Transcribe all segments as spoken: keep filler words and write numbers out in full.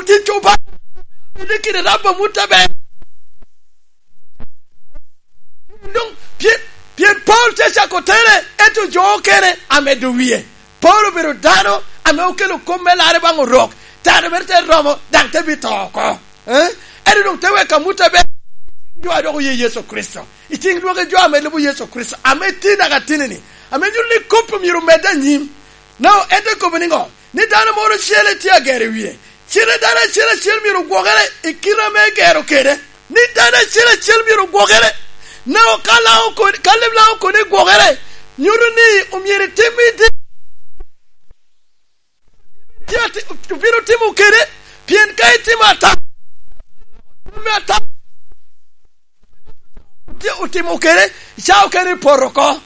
tic Obaŋa, ame kede rabo amut aber. Doŋ pien, pien Paulo tye cako tere, ento jo okene amedo wie. Paulo obedo dano ame okelo kop me larre baŋ Orok, tara mere te romo, daŋ te bito oko. Eh? Ento doŋ te weko amut aber, jo a dok oye Yecu Kricito. I ciŋ lwagi jo ame lubo Yecu Kricito, ame tye naka tinini, ame nyuto ni kop myero omedde anyim. No, en te kobo niŋo? Ni dano moro ocele tye agero i wie. Cite dano acel acel myero ogwokere i kite ame egero kede. Ni dano acel acel myero ogwokere. Nako ka Laŋo koni, ka leb Laŋo koni gwokere, nyuto ni omyero itim i di-, tye ati-, obino timo kede, pien ka itimo ata-, me ata-, tye otimo kede, ca okene i poto oko.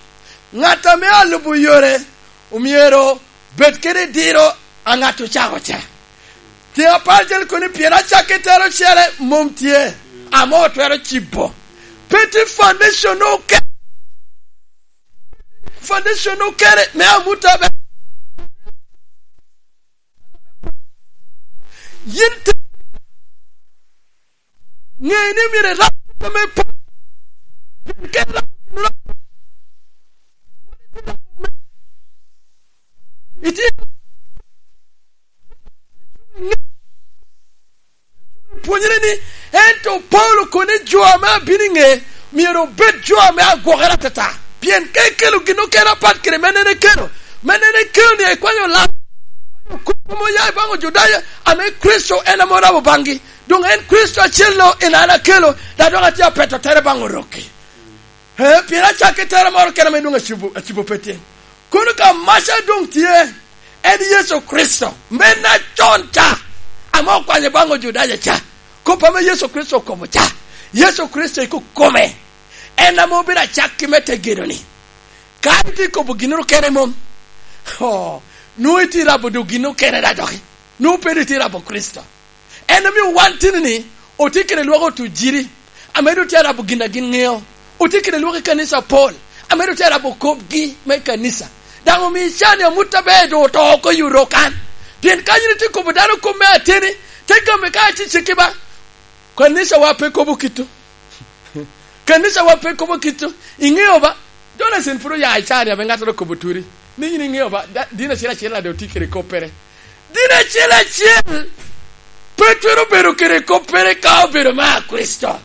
Ŋat ame alubo yore omyero bed kede diro a ŋat ocako ca. Tye apar cel koni pien acakki tero ocele mom tye, ame otwero cibo. Pe tye foundation okene, foundation okene me amut aber. Yin te ŋe ni myero irab kite me po. Pien ka irabo gin orabo, itye pwonyere ni, ento Paulo koni jo ame abino i ŋe myero obed jo ame agwokere atata. Pien ka ikelo gin okene apat kede me nene kelo, me nene kelo ni ekwanyo lam, kop ame oya i baŋ Ojudaya, ame Kricito en ame orabo baŋgi. Doŋ en Kricito acel-lo en an akelo, dok dok atye apeto tere baŋ Orok-ki. Ee, pien acakki tera moro kene ame doŋ acibo, acibo pe tyen. Kono ka maca doŋ tye, en Yecu Kricito, men acon ca, ame okwanyo baŋ Ojudaya ca. Kop ame Yecu Kricito okobo ca, Yecu Kricito ikokome, en ame obedo acakki me te gedo-ni. Ka itye kobo ginnoro kene mom, oh, nwoŋo itye rabo doŋ ginnoro kene da doki, nwoŋo pe doŋ itye rabo Kricito. En omio wan tini-ni otye kede lwak otujiri, ame doŋ tye arabo gin a gin ŋeo. Otye kede lwak i kanisa apol, ame doŋ tye arabo kopgi me kanisa. Daŋ omio ican ni amut aber doŋ oto oko i Orok kan. Pien ka yin itye kobo dano kop me ateni, te gamo ka itye cekki ba. Kanicawa pe kobo kito. Kanicawa pe kobo kito. Iŋeo ba? Jonathan pwod oya i can, ame ŋattoro okobo turi. Ni yin iŋeo ba, da-, dini acel acel ade otye kede koppere. Dini acel acel pe twero bedo kede koppere ka obedo me Kricito.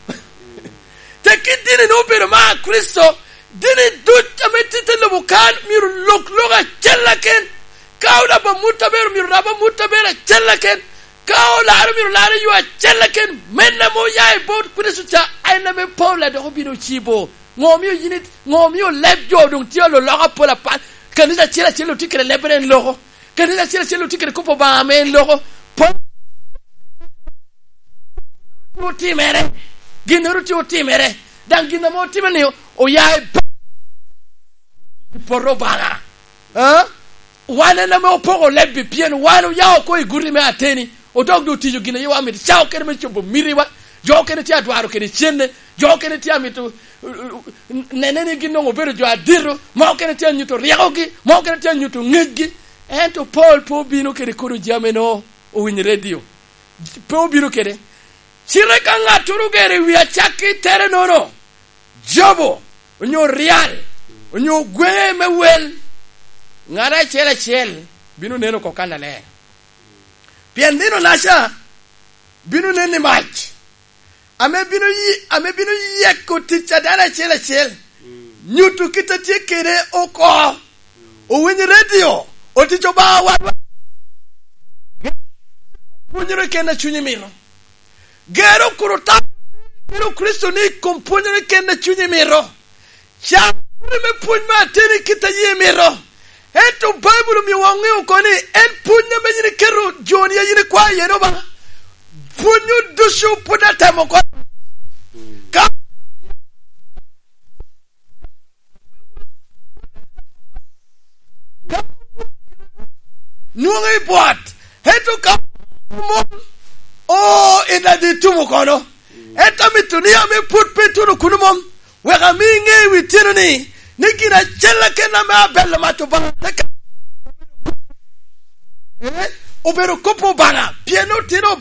Te kit dini ne obedo me Kricito, dini duc ame tye i te lobo kan myero lok lok acel aken. Ka olabo amut aber, myero rab amut aber acel aken. Ka olaro, myero laro yo acel aken. Men ame oya i bot Kricito ca, en ame Paulo a dok obino ocibo. Ŋo omio yin it-, ŋo omio leb jo doŋ tye olo lok apol apat? Kanisa acel acel otye kede lebbere en loko. Kanisa acel acel otye kede kop Obaŋa ame en loko. Pol-, otimere. Ginnoro tye otimere. Daŋ gin ame otimere-ni oya i ba-, i poto Obaŋa. Ah? Wan en ame opoko lebbi, pien wan oya oko i guti me ateni, odok doŋ otiyo gin a yie wan mito. Ca okene me cobo mitiwa, jo okene tye adwaro kede cenne, jo okene tye amito, uh, uh, uh, nene ni gin doŋ obedo jo adito, mo okene tye anyuto ryekogi, mo okene tye anyuto ŋecgi. Ento Paul pe obino kede kodo jami-no, owinyo redio. Pe obino kede. Cite ka ŋattoro ogero i wi acakki tere-nono, jobo, onyo ryal, onyo gweŋe me wel, ŋat acel acel bino neno oko kannaler. Pien nino-naca bino nen i mac, ame bino yi-, ame bino yeko tic a dano acel acel, nyuto kit a tye kede oko. Owinyo redio, otic Obaŋa wadwa. Pwonyere kene a cunyi mito. Gero kun otam, gero Kricito ni i kom pwonyere kene a cunyi mito. Ca kuri me pwony me ateni kit a yie mito. Ento Baibul omio waŋeo oko ni en pwony ame yin iketo joni a yin ikwayo iye Obaŋa. Pwonyo ducu pwod atemo oko. Ka nwoŋo i bwot, ento ka mom, o, i nadi tumo kono. Ento amito ni ame pwod pe tuno kuno mom, wek ami iŋe i wi tyeno ni, ni gin acel aken ame abelo mac Obaŋa te ka-, eh, obedo kop Obaŋa, pien otino